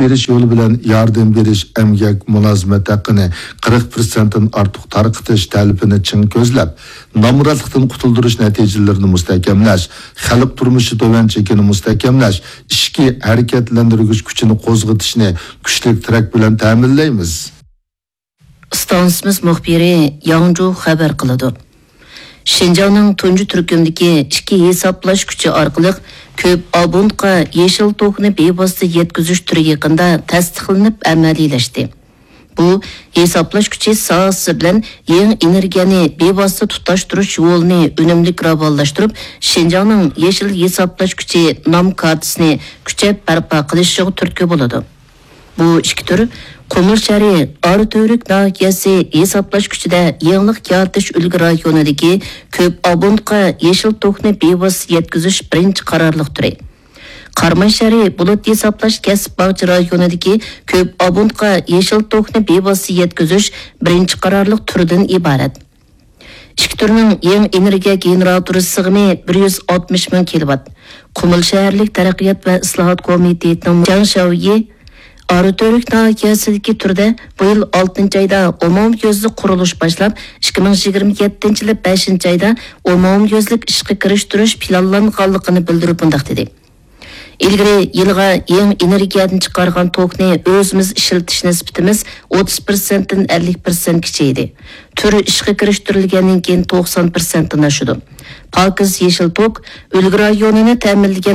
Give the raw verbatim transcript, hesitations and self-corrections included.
بېرىش يولى بىلەن ياردەم بېرىش، ئەمگەك مۇلازىمەت ھەققىنى قىرىق پىرسەنتتىن ئارتۇق تارقىتىش تەلىپىنى چىڭ كۆزلەپ، نامراتلىقتىن قۇتۇلدۇرۇش نەتىجىلىرىنى مۇستەھكەملەش، خەلق تۇرمۇشى تۆۋەن چېكىنى مۇستەھكەملەش، ئىچكى ھەرىكەتلەندۈرگۈچ كۈچىنى قوزغىتىشنى كۈچلۈك تىرەك بىلەن تەمىنلەيمىز. ئىستانسىمىز مۇخبىرى ياڭجۇ خەۋەر قىلىدۇ. شىنجاڭنىڭ تۇنجى تۈركۈمدىكى ئىككى ھېسابلاش كۈچى ئارقىلىق كۆپ ئابونتقا يېشىل توكنى بىۋاسىتە يەتكۈزۈش تۈرى يېقىندا تەستىقلىنىپ ئەمەلىيلەشتى. بۇ ھېسابلاش كۈچى ساھەسى بىلەن يېڭى ئېنېرگىيەنى بىۋاسىتە تۇتاشتۇرۇش يولىنى ئۈنۈملۈك راۋانلاشتۇرۇپ، شىنجاڭنىڭ يېشىل ھېسابلاش كۈچى نام كارتىسىنى كۈچەپ بەرپا قىلىشىغا تۈرتكە بولىدۇ. بۇ ئىككى تۈر قۇمۇل شەھىرى ئاراتۈرك ناھىيەسى ھېسابلاش كۈچىدە يېڭىلىق يارىتىش ئۈلگە رايونىدىكى كۆپ ئابونتقا يېشىل توكنى بىۋاسىتە يەتكۈزۈش بىرىنچى قارارلىق تۈرى. قاراماي شەھىرى بۇلۇت ھېسابلاش كەسىپ باغچە رايونىدىكى كۆپ ئابونتقا يېشىل توكنى بىۋاسىتە يەتكۈزۈش بىرىنچى قارارلىق تۈرىدىن ئىبارەت. ئىككى تۈرنىڭ يېڭى ئېنېرگىيە گېنېراتورى سىغىمى بىر يۈز ئاتمىش مىڭ كىلوۋات. قۇمۇل شەھەرلىك تەرەققىيات ۋە ئىسلاھات كومىتېتىنىڭ جاڭ شياۋيى ئاراتۈرك ناھىيەسىدىكى تۈردە بۇ يىل ئالتىنچى ئايدا ئومۇميۈزلۈك قۇرۇلۇش باشلاپ، ئىككى مىڭ يىگىرمە يەتتىنچى يىلى بەشىنچى ئايدا ئومۇميۈزلۈك ئىشقا كىرىشتۈرۈش پىلانلانغانلىقىنى بىلدۈرۈپ مۇنداق دېدى: ئىلگىرى يىلىغا يېڭى ئېنېرگىيەدىن چىقارغان توكنى ئۆزىمىز ئىشلىتىش نىسبىتىمىز ئوتتۇز پىرسەنتتىن ئەللىك پىرسەنتكىچە ئىدى. تۈر ئىشقا كىرىشتۈرۈلگەندىن كېيىن توقسان پىرسەنتتىن ئاشىدۇ. پاكىز يېشىل توك ئۈلگە رايونىنى تەمىنلىگەن